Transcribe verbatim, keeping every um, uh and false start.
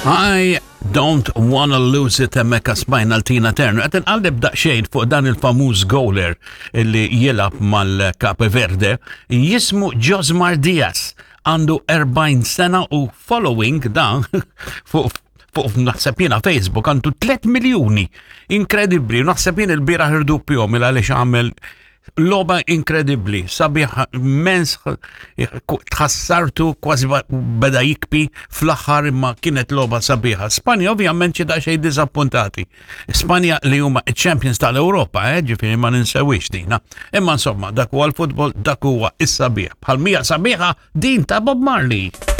I don't wanna lose it, hemmhekk smajna 'l Tina Turner. Qed inqalleb daqsxejn fuq dan il-famuż goaler illi jilgħab mal-Cape Verde, jismu Josmar Diaz. Għandu erbgħin sena u following dan fuq fuq naħseb jiena Facebook għandu tliet miljuni. Inkredibli, naħseb jien il-bieraħ irduppjahom għaliex għamel logħba inkredibli, sabiħ immens, tħassartu, kważi beda jibki fl-aħħar, imma kienet logħba sabiħa. Spanja ovvjament xi daqsxejn diżappuntati. Spanja li huma champions tal-Ewropa, eh, ġifieri ma ninsewix dina. Imma insomma, dak huwa l-futbol, dak huwa is-sabiħ. Bħal mija sabiħa din ta' Bob Marley.